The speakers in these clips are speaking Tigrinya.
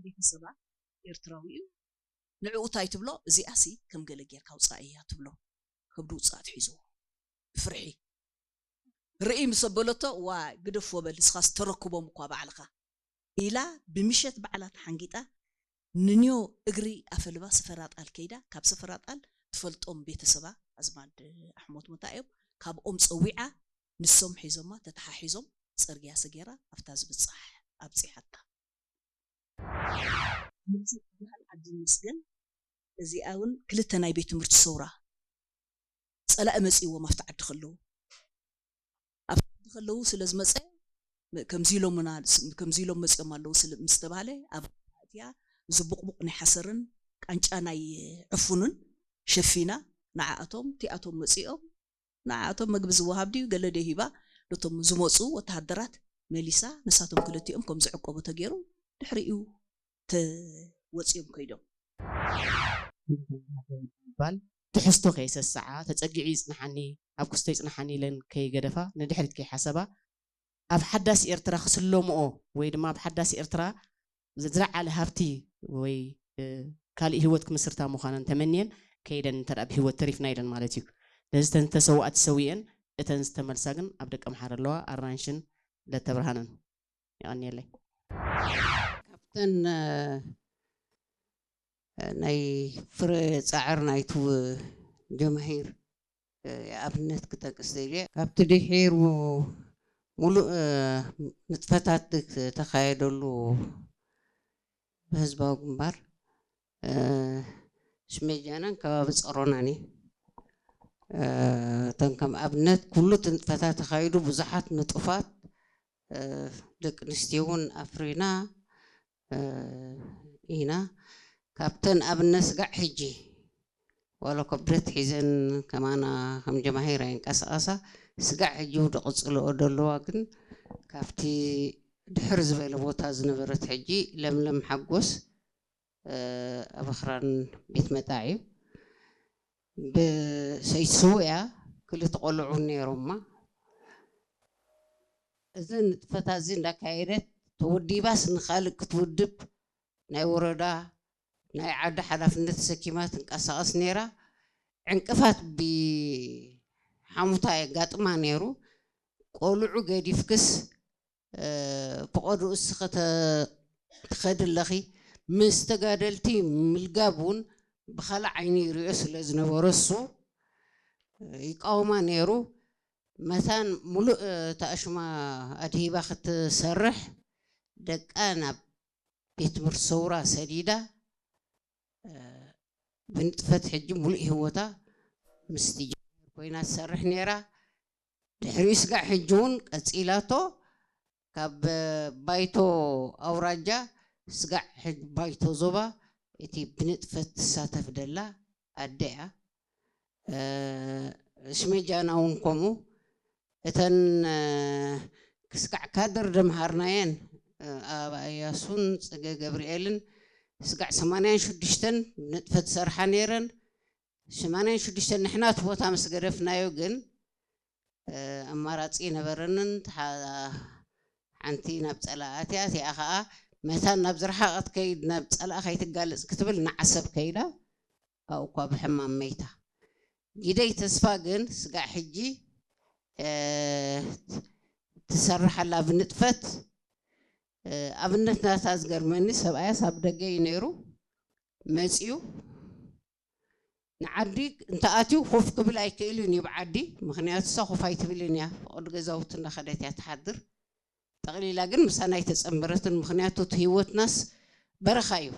ቤተሰባ ኤርትራዊ እዩ። ንዕኡ እንታይ ትብሎ? እዚኣሲ ከም ገለ ጌርካ ውጻእ እያ ትብሎ። ከብዱ ውጻእ ትሒዝዎ። ብፍርሒ። ርእይ ምስ ኣበለቶ፣ "ዋ፣ ግደፎ በል፣ ንስኻስ ተረክቦም እኳ ባዕልኻ" ኢላ ብምሸት ባዕላ ተሓንጊጣ ንንዮ እግሪ ኣፈልባ ስፈራጣል ከይዳ፣ ካብ ስፈራጣል ትፈልጦም ቤተሰባ ኣዝማድ ኣሕሞት መታ እዮም፣ ካብኦም ጸዊዓ ንሶም ሒዞማ ተተሓሒዞም ጽርግያ ሰጌራ ኣብታ ዝብጻሕ ኣብጺሓታ። ነብሲ ይበሃል ዓዲ ይመስገን። እዚኣ እውን ክልተ ናይ ቤት ትምህርቲ ሰውራ ጸላኢ መጺእዎም ኣብቲ ዓዲ ከለዉ። ኣብቲ ዓዲ ከለዉ ስለ ዝመጸ፣ ም-፣ ከምዚ ኢሎምና፣ ስ-፣ ከምዚ ኢሎም መጺኦም ኣለዉ ስለ፣ ምስ ተባህለ፣ ኣብ ኣእትያ እዚ ቡቕቡቕ ናይ ሓሰርን ቃንጫ ናይ ዕፉንን ሸፊና፣ ንዓኣቶም፣ እቲኣቶም መጺኦም፣ ንዓኣቶም መግቢ ዝወሃብ ድዩ ገለ ደይ ሂባ፣ ነቶም ዝመጹ ወተሃደራት መሊሳ፣ ንሳቶም ክልቲኦም ከም ዝዕቀቡ ተገይሩ፣ ድሕሪኡ ተ-፣ ወጺኦም ከይዶም። ምባል ትሕዝቶ ከየሰስዓ፣ ተጸጊዑ ይጽንሓኒ፣ ኣብ ክስቶ ይጽንሓኒ ኢለን ከይገደፋ፣ ንድሕሪት ከይሓሰባ፣ ኣብ ሓዳስ ኤርትራ ክስለምኦ ወይ ድማ ኣብ ሓዳስ ኤርትራ ዝለዓለ ሃብቲ ወይ፣ እ፣ ካልእ ህይወት ክምስርታ ምዃነን ተመንየን ከይደን እንተ ደኣ ብህይወት ተሪፍና ኢለን ማለት እዩ። ነዚ እተን ዝተሰውኣ ተሰዊአን፣ እተን ዝተመልሳ ግን ኣብ ደቀምሓረ ኣለዋ፣ ኣራንሽን ለተብርሃንን። የቐንየለይ። ካብተን እ፣ ናይ ፍረ ጻዕር ናይቱ ጀማሂር እ፣ ኣብነት ክጠቅስ ደልየ። ካብቲ ድሒሩ ሙሉእ እ፣ ንጥፈታት ዝተኻየደሉ ብህዝባዊ ግንባር እ፣ ሽሜጃናን ከባቢ ጸሮናን እዩ። እ፣ እተን ከም ኣብነት ኩሉ እቲ ንጥፈታት ተኻይዱ ብዙሓት ንጡፋት እ፣ ደቂ ኣንስትዮ እውን ኣፍሪና እ፣ ኢና። ካብተን ኣብነት ስጋዕ ሕጂ ዋላ እኳ ብረት ሒዘን ከማና ከም ጀማሂር ኣይንቀሳቐሳ፣ ስጋዕ ሕጂ እውን ዝቕጽልኦ ዘለዋ ግን ካብቲ ድሕር ዝበለ ቦታ ዝነበረት ሕጂ ለምለም ሓጎስ እ፣ ኣብ ኣኽራን ቤት መጣ እዩ። ብሰይቲ ስውእያ ክልተ ቆልዑ ነይሮማ። እዚ ንጥፈታት እዚ እንዳካየደት ተወዲባስ ንኻልእ ክትውድብ ናይ ወረዳ ናይ ዓዲ ሓላፍነት ተሰኪማ ትንቀሳቐስ ነይራ። ዕንቅፋት ብሓሙታ የጋጥማ ነይሩ። ቆልዑ ገዲፍክስ እ፣ ፈቐድኡ እስኺ ተ-፣ ትኸዲ ኣለኺ። ምስ ተጋደልቲ ምልጋብ እውን ብኻልእ ዓይኒ ይሪኦ ስለ ዝነበረ እሱ ይቃወማ ነይሩ። መታን ሙሉእ፣ እ፣ ተኣሽማ ኣድሂባ ክትሰርሕ ደቃ ናብ ቤት ትምህርቲ ሰውራ ሰዲዳ፣ እ፣ ብንጥፈት ሕጂ ሙሉእ ህይወታ ምስቲ ጀማሂር ኮይና ትሰርሕ ነይራ። ድሕሪኡ ስጋዕ ሕጂ እውን ቀጺላቶ። ካብ ባይቶ ኣውራጃ ስጋዕ ሕጂ ባይቶ ዞባ እቲ ብንጥፈት ትሳተፍ ደላ ኣደ እያ። እ፣ ሽሜጃና እውን ከምኡ። እተን እ፣ ክስጋዕ ካድር ደምሃርናየን እ፣ ኣበባ እያሱን ጽገ ገብርኤልን ስጋዕ ሰማንያን ሽዱሽተን ብንጥፈት ዝሰርሓ ነይረን። ሰማንያን ሽዱሽተን ንሕና እቲ ቦታ ምስ ገደፍናዮ ግን እ፣ ኣማራጺ ነበረንን። ሓንቲ ናብ ጸላእ ኣትያ፣ እቲኣ ኸኣ መታን ናብ ዝረሓቐት ከይድ ናብ ጸላእ ከይትጋለጽ ክትብል ንዓሰብ ከይዳ ኣብኡ እኳ ብሕማም መይታ። ጊደይ ተስፋ ግን ስጋዕ ሕጂ እ፣ ትሰርሕ ኣላ ብንጥፈት። እ፣ ኣብነት ናታ ዝገርመኒ ሰብኣያስ ኣብ ደገ እዩ ነይሩ መጺኡ ንዓዲ እንተኣትዩ ኮፍ ክብል ኣይክእልን እዩ ብዓዲ፣ ምኽንያቱ እሳ ኮፍ ኣይትብልን እያ፣ ፈቐዶ ገዛውቲ እንዳኸደት እያ ትሓድር። ጠቕሊላ ግን ምሳና ኣይተጸንበረትን፣ ምኽንያቱ እቲ ህይወትናስ በረኻ እዩ።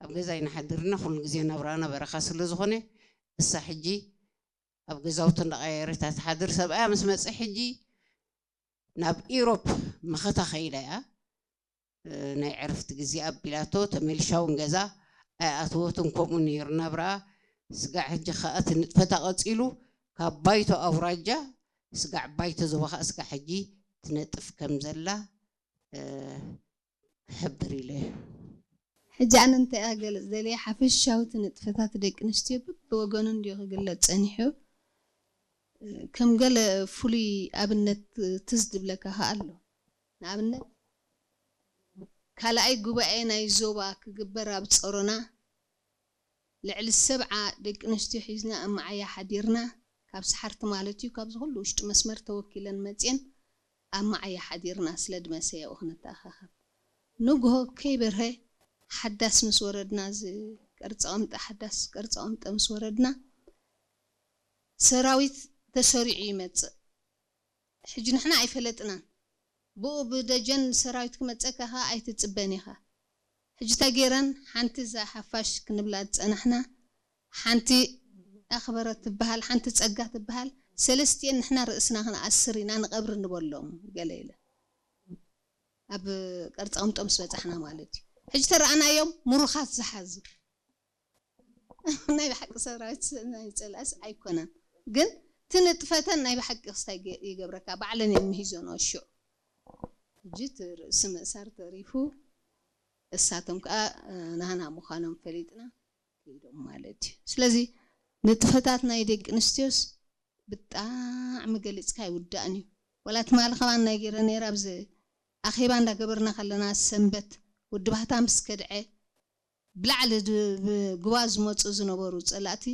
ኣብ ገዛ ኣይንሓድርና፣ ኩሉ ግዜ ናብራና በረኻ ስለ ዝኾነ እሳ ሕጂ ኣብ ገዛውቲ እንዳቐየረት እያ ትሓድር። ሰብኣያ ምስ መጸ ሕጂ ናብ ኢሮፕ መኸታ ከይዳ እያ። ናይ ዕርፍቲ ግዜ ኣቢላቶ ተመሊሻ እውን ገዛ ኣይኣተወትን። ከምኡ ነይሩ ናብራኣ። ስጋዕ ሕጂ ከኣ እቲ ንጥፈታ ቀጺሉ ካብ ባይቶ ኣውራጃ ስጋዕ ባይቶ ዞባ ከኣ ስጋዕ ሕጂ ትነጥፍ ከም ዘላ ክሕብር ኢለ እየ። ሕጂ ኣነ እንታይ እያ ክገልጽ ደልየ ሓፈሻዊ እቲ ንጥፈታት ደቂ ኣንስትዮ በብወገኑ እንድዩ ክግለጽ ጸኒሑ። ከም ገለ ፍሉይ ኣብነት ትዝ ዝብለካ ከኣ ኣሎ። ንኣብነት ካልኣይ ጉባኤ ናይ ዞባ ክግበር ኣብ ጸሮና ልዕሊ ሰብዓ ደቂ ኣንስትዮ ሒዝና ኣብ መዓያ ሓዲርና፣ ካብ ሰሓርቲ ማለት እዩ፣ ካብዚ ኩሉ ውሽጢ መስመር ተወኪለን መጽየን ኣብ መዓያ ሓዲርና ስለ ድመሰያኡ ክንተኣኻኸብ። ንግሆ ከይበርሀ ሓዳስ ምስ ወረድና፣ እዚ ቅርጻ ቐምጠ ሓዳስ ቅርጻ ቐምጠ ምስ ወረድና፣ ሰራዊት ተሰሪዑ ይመጽእ። ሕጂ ንሕና ኣይፈለጥናን። ብኡ ብደጀን ሰራዊት ክመጸካ ከኣ ኣይትጽበን ኢኻ። ሕጂ እንታይ ገይረን፣ ሓንቲ እዛ ሓፋሽ ክንብላ ዝጸናሕና፣ ሓንቲ ኣኽበረት ትበሃል፣ ሓንቲ ጸጋ ትበሃል፣ ሰለስቲኤን ንሕና ርእስና ክንኣስር ኢና ንቐብሪ ንበሎም ገለ ኢለን። ኣብ ቅርጻ ቐምጦ ምስ በጻሕና ማለት እዩ። ሕጂ ተረኣናዮም ምሩኻት ዝሓዙ። ናይ ብሓቂ ሰራዊት ናይ ጸላእስ ኣይኮነን፣ ግን እቲ ንጥፈተን ናይ ብሓቂ ክስታይ ገ-፣ ይገብረካ፣ ባዕለን እየን ምሂዞንኦ ሽዑ። ሕጂ እቲ ርእሲ ምእሳር ተሪፉ፣ እሳቶም ከኣ፣ እ፣ ናህና ምዃኖም ፈሊጥና ከይዶም ማለት እዩ። ስለዚ ንጥፈታት ናይ ደቂ ኣንስትዮስ ብጣዕሚ ገሊጽካ ኣይውዳእን እዩ። ወላ ትማሊ ከማን ናይ ገይረ ነይረ፣ ኣብዚ ኣኼባ እንዳገበርና ከለና ሰንበት ወዲ ባህታ ምስ ከድዐ ብላዕሊ ድ-፣ ብጉባ ዝመጹ ዝነበሩ ጸላእቲ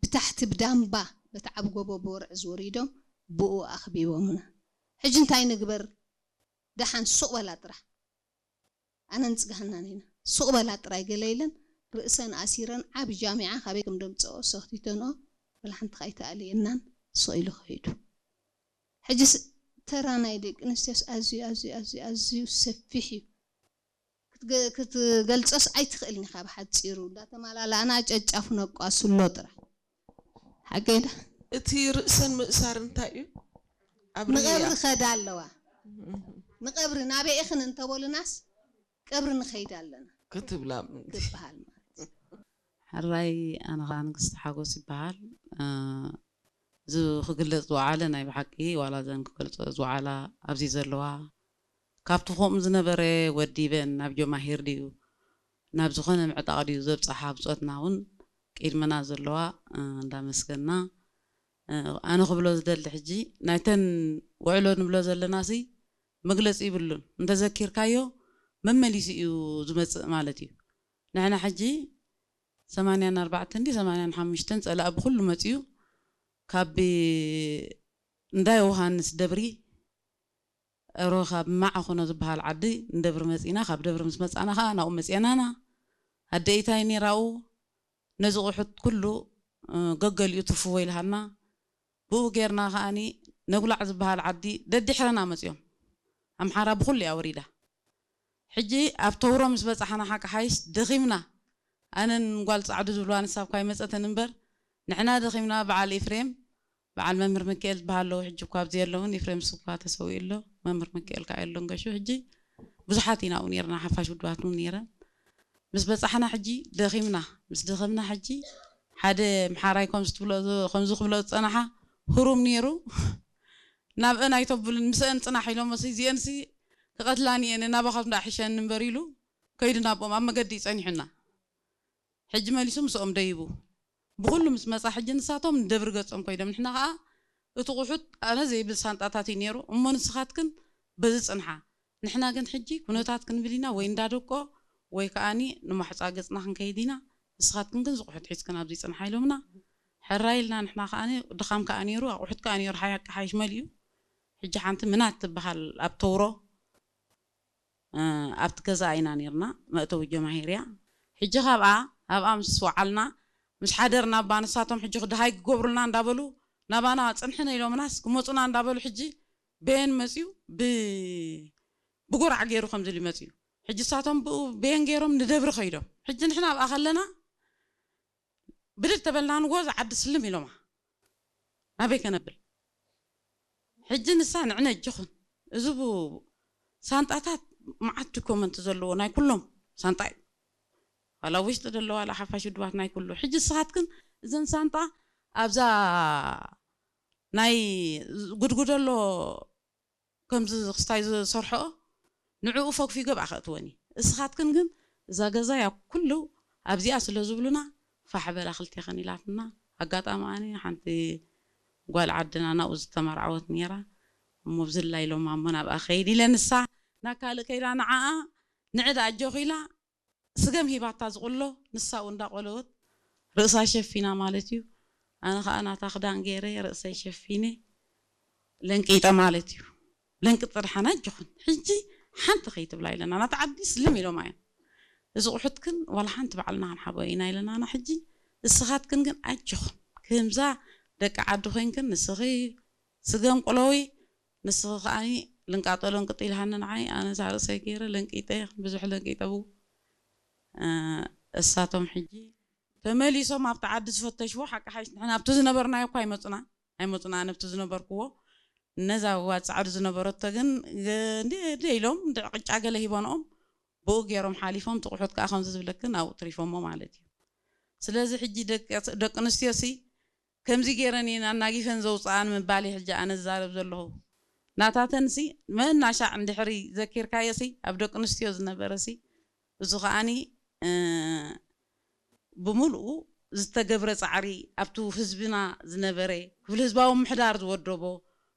ብታሕቲ ብዳምባ በቲ ዓቢ ጎቦ ብወርዒ ዝወሪዶም ብኡ ኣኽቢቦምና። ሕጂ እንታይ ንግበር? ደሓን ሱቕ በላ ጥራሕ። ኣነን ጽጋህናን ኢና። ሱቕ በላ ጥራይ ገለ ኢለን ርእሰን ኣሲረን ዓቢ ጃሚዓ ካበይ ከም ደምጽኦ ሰኽቲተንኦ፣ ወላ ሓንቲ ከኣ ኣይተኣልየናን፣ ሱቕ ኢሉ ክሒዱ። ሕጂስ ተራ ናይ ደቂ ኣንስትዮስ ኣዝዩ፣ ኣዝዩ፣ ኣዝዩ፣ ኣዝዩ ሰፊሕ እዩ። ክትገ-፣ ክትገልጾስ ኣይትኽእልን ኢኻ ብሓጺሩ። እንዳተማላላእና ጨጫፉ ነቋስሎ ጥራሕ። ሓቀይ ዳ? እቲ ርእሰን ምእሳር እንታይ እዩ? ኣብ ንቐብሪ ርእያ። ከዳ ኣለዋ። ንቐብሪ ናበይ ኢኽን እንተበሉናስ፣ ቀብሪ ንኸይድ ኣለና ክትብላ ምእንቲ። ትበሃል ማለት እዩ። ሕራይ፣ ኣነ ኸዓ ንግስቲ ሓጎስ ይበሃል። እ፣ እዚ ክግለጽ ዝወዓለ ናይ ብሓቂ፣ ዋላ እዘን ክገልጾ ዝወዓላ ኣብዚ ዘለዋ፣ ካብቲ ከምኡ ዝነበረ ወዲበን ናብ ጀማሂር ድዩ፣ ናብ ዝኾነ ምዕጣቕ ድዩ ዘብጽሓ ብጾትና እውን ቅድመና ዘለዋ፣ እ፣ እንዳመስገና፣ እ፣ ኣነ ክብሎ ዝደሊ ሕጂ፣ ናይተን ውዕሎ ንብሎ ዘለናሲ መግለጺ ይብሉን። እንተዘኪርካዮ መመሊሱ እዩ ዝመጽእ ማለት እዩ። ንሕና ሕጂ ሰማንያን ኣርባዕተን ድዩ ሰማንያን ሓሙሽተን ጸላኢ ብኹሉ መጽዩ፣ ካብ እንዳ ዮሃንስ ደብሪ፣ እሮ ካብ ማዓኾኖ ዝበሃል ዓዲ ንደብሪ መጺና፣ ካብ ደብሪ ምስ መጻና ኸኣ ናብኡ መጺኤናና። ኣደ ኢታይ ነይራኡ፣ ነዚ ቑሑት ኩሉ፣ እ፣ ገገሊኡ ትርፍዎ ኢልሃና። ብኡ ጌርና ከኣኒ ነጉላዕ ዝበሃል ዓዲ ደድሕረና መጺኦም። ኣምሓራ ብኹሉ እያ ወሪዳ። ሕጂ ኣብ ተውሮ ምስ በጻሕና ሓቂ ሓይሽ ደኺምና። ኣነን ጓል ጻዕዱ ዝብልዋ ንሳ እኳ ኣይመጸትን እምበር፣ ንሕና ደኺምና። በዓል ኤፍሬም፣ በዓል መምህር ሚካኤል ዝበሃል ኣለዉ፣ ሕጂ እኳ ኣብዚ የለውን። ኤፍሬም ንሱ እኳ ተሰዊኡ ኣሎ፣ መምህር ሚካኤል ከኣ የሎን ገሹ። ሕጂ ብዙሓት ኢና ኣብኡ ኔርና፣ ሓፋሽ ውድባት እውን ኔረን። ምስ በጻሕና ሕጂ ደኺምና። ምስ ደኸምና ሕጂ ሓደ ምሓራይ ከምዚ ትብሎ፣ ከምዚ ክብሎ ዝጸናሓ ህሩም ኔሩ። ናብአን ኣይተብልን፣ ምስአን ጽናሕ ኢሎሞሲ፣ እዚአንሲ ክቐትላኒ እየን፣ ናባኻትኩም ደኣ ሕሸኒ እምበር ኢሉ ከይዱ ናብኦም ኣብ መገዲ እዩ ጸኒሑና። ሕጂ መሊሱ ምስኦም ደይቡ። ብኹሉ ምስ መጻ ሕጂ ንሳቶም ንደብሪ ገጾም ኮይዶም፣ ንሕና ኸኣ እቲ ቑሑት ኣነ ዘይብል ሳንጣታት እዩ ነይሩ። እሞ ንስኻትክን በዚ ጽንሓ። ንሕና ግን ሕጂ ኩነታት ክንብል ኢና ወይ እንዳደቆ ወይ ከኣኒ ንማሕጻ ገጽና ክንከይድ ኢና። ንስኻትክን ግን ዝቑሑት ሒዝክን ኣብዚ ጽንሓ ኢሎምና። ሕራይ ኢልና ንሕና ከኣኒ ድኻም ከኣ ነይሩ፣ ኣቑሑት ከኣ ነይሩ፣ ሓያቂ ሓይሽ መሊኡ። ሕጂ ሓንቲ ምናት ትበሃል ኣብ ተውሮ፣ እ፣ ኣብቲ ገዛ ኢና ነይርና፣ መእተዊ ጀማሂር እያ። ሕጂ ካብኣ፣ ኣብኣ ምስ ወዓልና፣ ምስ ሓደርና እባ ንሳቶም ሕጂ ክደሃይ ክገብሩልና እንዳበሉ፣ ናባና ጽንሕነ ኢሎምናስ ክመጹና እንዳበሉ ሕጂ በየን መጽዩ፣ ብ-፣ ብጎራዕ ገይሩ ከምዚ ኢሉ መጽዩ። ሕጂ ንሳቶም ብኡ በየን ገይሮም ንደብሪ ከይዶም። ሕጂ ንሕና ኣብኣ ከለና ብድድ ተበልና ንጎ ዝዓዲ ስልም ኢሎማ። ናበይ ከነብል? ሕጂ ንሳ ንዕነ እጅኹን። እዚ ቡ-፣ ሳንጣታት መዓት ዶኮመንት ዘለዎ ናይ ኩሎም ሳንጣ እዩ። ዋላ ውሽጢ ደሎ ዋላ ሓፋሽ ውድባት ናይ ኩሉ። ሕጂ ንስኻትክን እዘን ሳንጣ ኣብዛ ናይ ጉድጉደሎ ከምዚ ክስታይ ዝሰርሖ ንዕኡ ፈግፊጉ ኣብኣ ከእትወን እዩ። እስኻትክን ግን እዛ ገዛ እያ ኩሉ ኣብዚኣ ስለ ዝብሉና ፋሕ በላ ክልቴኽን ኢላትና። ኣጋጣሚ ኣነ ሓንቲ ጓል ዓድና ናብኡ ዝተመርዓወት ነይራ። እሞ ብዝላ ኢሎም ኣሞ ናብኣ ከይድ ኢለ ንሳ ናብ ካልእ ከይዳ ንዓኣ ንዕዳ ኣጆኺ ኢላ ስገም ሂባታ ዝቑሎ፣ ንሳኡ እንዳቆለወት ርእሳ ሸፊና ማለት እዩ። ኣነ ከዓ ናታ ክዳን ገይረ ርእሰይ ሸፊነ ለንቂጠ ማለት እዩ። ለንቂ ጥርሓና ኣጆኽን ሕጂ ሓንቲ ከይትብላ ኢለና፣ ናታ ዓዲ ስልም ኢሎም እዮም። እዚ ቁሑትክን ዋላ ሓንቲ ባዕልና ክንሓቦ ኢና ኢለናና። ሕጂ እስኻትክን ግን ኣጆኽን፣ ከምዛ ደቂ ዓዲ ኮይንክን ንስኺ ስገም ቁለዊ፣ ንስኺ ከዓኒ ልንቃጠሎ እንቅጢልሃኒ ንዓይ፣ ኣነ እዛ ርእሰይ ገይረ ለንቂጠ፣ ብዙሕ ለንቂጠ ብኡ። እ፣ እሳቶም ሕጂ ተመሊሶም ኣብቲ ዓዲ ዝፈተሽዎ ሓቂ ሓይሽ ንሕና ኣብቲ ዝነበርናዮ እኳ ኣይመፁና፣ ኣይመፁና፣ ኣነ ኣብቲ ዝነበርክዎ ነዛ ዋት ፃዕዱ ዝነበረቶ ግን ገ-፣ እንደ-፣ እንደ ኢሎም እንደ ቅጫ ገለ ሂቦንኦም ብኡ ገይሮም ሓሊፎም፣ ትቑሑት ከዓ ከምዚ ዝብለክን ኣብኡ ትሪፎሞ ማለት እዩ። ስለዚ ሕጂ ደቂ፣ ደቂ ኣንስትዮ ሲ ከምዚ ገይረን እየን ኣናጊፈን ዘውፅኣን ምባል እዩ ሕጂ ኣነ ዝዛረብ ዘለኹ። ናታተን ሲ መናሻዕ እንድሕሪ ዘኪርካዮ ሲ ኣብ ደቂ ኣንስትዮ ዝነበረ ሲ፣ እዚ ከዓኒ፣ እ፣ ብምልኡ ዝተገብረ ጻዕሪ ኣብቲ ህዝብና ዝነበረ ክፍሊ ህዝባዊ ምሕዳር ዝወደቦ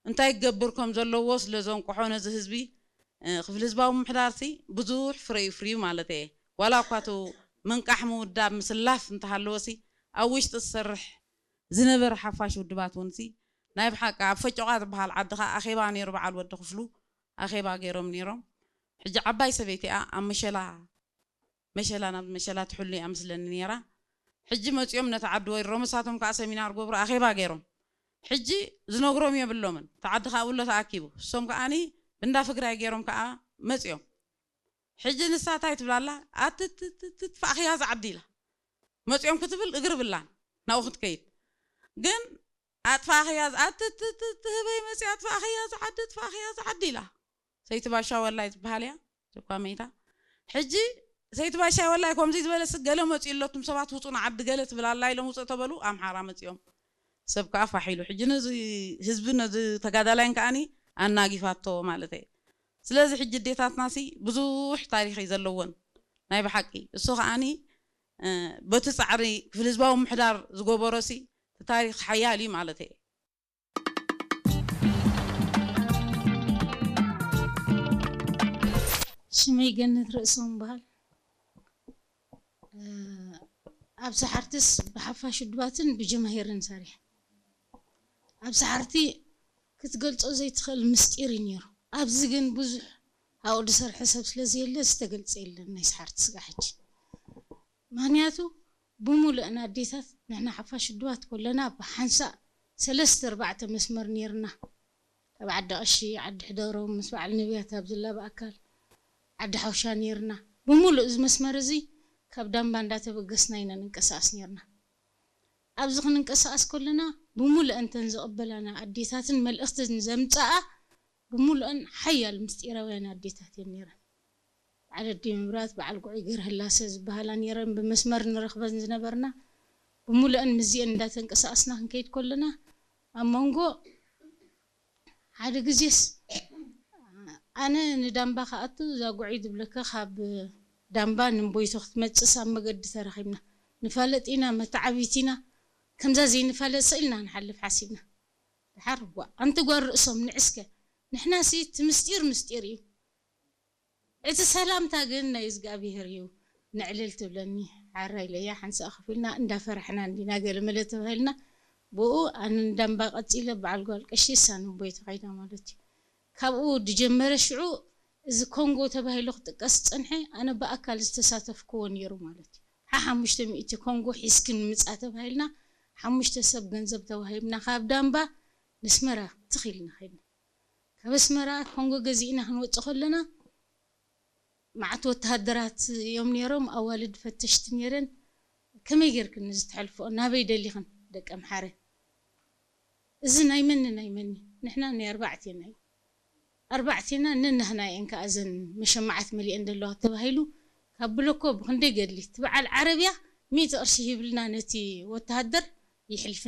እንታይ ክገብር ከም ዘለዎ ስለ ዘንቅሖ ነዚ ህዝቢ፣ እ፣ ክፍሊ ህዝባዊ ምሕዳር ሲ ብዙሕ ፍረ እዩ ፍርዩ ማለት እየ። ዋላ እኳ እቲ ምንቃሕ ምውዳብ ምስላፍ እንተሃለወ ሲ ኣብ ውሽጢ ዝሰርሕ ዝነበረ ሓፋሽ ውድባት እውን ሲ ናይ ብሓቂ ኣብ ፈጮቓ ዝበሃል ዓዲ ኸዓ ኣኼባ ነይሩ። በዓል ወዲ ክፍሉ ኣኼባ ገይሮም ነይሮም። ሕጂ ዓባይ ሰበይቲ እያ ኣብ መሸላ፣ መሸላ ናብ መሸላ ትሕሉ እያ ምስለኒ ነይራ። ሕጂ መፂኦም ነቲ ዓዲ ወሪሮም እሳቶም ከዓ ሰሚናር ገብሩ ኣኼባ ገይሮም። ሕጂ ዝነግሮም የብሎምን። እቲ ዓዲ ከዓ ውሎ ተኣኪቡ። እሶም ከዓኒ ብንዳ ፍግራይ ገይሮም ከዓ መፂኦም። ሕጂ ንሳ እንታይ ትብላ ኣላ? ኣትትትትፋእኽያ ዝዓዲ ኢላ። መፂኦም ክትብል እግሪ ብላን ናብኡ ክትከይድ። ግን ኣጥፋእኽያ ዝ-፣ ኣትትትት ህበይ መፂኣ ኣጥፋእኽያ ዝዓዲ፣ ኣጥፋእኽያ ዝዓዲ ኢላ። ሰይቲ ባሻ ወላይ ዝበሃል እያ። እኳ መይታ። ሕጂ ሰይቲ ባሻ ወላይ ከምዚ ዝበለ ስ-፣ ገለ መፂኡ ኣሎ፣ እቱም ሰባት ውፁ ንዓዲ ገለ ትብል ኣላ ኢሎም ውፅእ ተበሉ፣ ኣምሓራ መፂኦም። ሰብ ከዓ ፋሕ ኢሉ። ሕጂ ነዚ ህዝቢ ነዚ ተጋዳላይን ከዓኒ ኣናጊፋቶ ማለት እየ። ስለዚ ሕጂ ኣዴታትና ሲ ብዙሕ ታሪኽ እዩ ዘለወን ናይ ብሓቂ። እሱ ከዓኒ፣ እ፣ በቲ ጻዕሪ ክፍሊ ህዝባዊ ምሕዳር ዝገበሮ ሲ እቲ ታሪኽ ሓያል እዩ ማለት እየ። ሽመይ ገነት ርእሶም በሃል። እ፣ ኣብ ሰሓርትስ ብሓፋሽ ውድባትን ብጀማሂርን ሰሪሐ። ኣብ ሰሓርቲ ክትገልጾ ዘይትኽእል ምስጢር እዩ ነይሩ። ኣብዚ ግን ብዙሕ ኣብኡ ዝሰርሐ ሰብ ስለ ዘየለ ዝተገልጸ የለን ናይ ሰሓርቲ ስጋዕ ሕጂ። ምኽንያቱ ብሙሉእን ኣዴታት ንሕና ሓፋሽ ውድባት ከለና ብሓንሳእ ሰለስተ ኣርባዕተ መስመር ነይርና። ኣብ ዓዲ ቀሺ፣ ዓዲ ሕደሮም፣ ምስ በዓል ነብያት ኣብ ዝላ ብኣካል፣ ዓዲ ሓውሻ ነይርና። ብሙሉእ እዚ መስመር እዚ ካብ ዳምባ እንዳተበገስና ኢና ንንቀሳቐስ ነይርና። ኣብዚ ክንንቀሳቐስ ከለና ብሙሉእ እንተን ዝቕበላና ኣዴታትን መልእኽትን ዘምፀኣ ብሙሉእን ሓያል ምስጢራውያን ኣዴታት እየን ነይረን። በዓል ኣዲ ምብራት፣ በዓል ጉዑይ ገርህላሰ ዝበሃላ ነይረን ብመስመር ንረኽበን ዝነበርና። ብሙሉእን ምስዚአን እንዳተንቀሳቐስና ክንከይድ ከለና ኣብ መንጎ ሓደ ግዜስ ኣነ ንዳምባ ክኣቱ እዛ ጉዑይ ዝብለካ ካብ ዳምባ ንእምቦይቶ ክትመፅስ ኣብ መገዲ ተራኺብና። ንፋለጥ ኢና፣ መተዓቢት ኢና፣ ከምዛ ዘይንፋለጥ ስኢልና ንሓልፍ ሓሲብና። ድሓር ዋ ኣንቲ ጓል ርእሶም ንዕስከ ንሕናሲ እቲ ምስጢር ምስጢር እዩ። እቲ ሰላምታ ግን ናይ እዝጋብሄር እዩ። ንዕልል ትብለኒ ሓራ ኢለያ ሓንሳእ ከፊልና እንዳፈራሕና እንዲና ገለ መለ ተባሂልና ብኡ ኣነ ንዳምባ ቀፂለ በዓል ጓል ቀሺ እሳ ንቦይ ተኸይዳ ማለት እዩ። ካብኡ ዝጀመረ ሽዑ እዚ ኮንጎ ተባሂሉ ክጥቀስ ዝፀንሐ ኣነ ብኣካል ዝተሳተፍክዎ ነይሩ ማለት እዩ። ሓሓሙሽተ ሚእቲ ኮንጎ ሒዝክን ምፃ ተባሂልና ሓሙሽተ ሰብ ገንዘብ ተዋሂብና ካብ ዳምባ ንስመራ ትኽ ኢልና ኸይድና። ካብ ኣስመራ ኮንጎ ገዚእና ክንወፅእ ከለና መዓት ወተሃደራት እዮም ነይሮም፣ ኣዋልድ ፈተሽቲ ነይረን። ከመይ ጌርክን እዚ ትሐልፍኦ? ናበይ ደሊኽን ደቂ ኣምሓረ? እዚ ናይ መኒ ናይ መኒ? ንሕና ናይ ኣርባዕቴና እዩ። ኣርባዕቴና ነናህና እየን ከኣ እዘን መሸማዓት መሊአን ዘለዋ ተባሂሉ ካብ ብለኮ ብክንደይ ገድሊ እቲ በዓል ዓረብያ ሚእቲ ቅርሺ ሂብልና ነቲ ወተሃደር ይሕልፍና።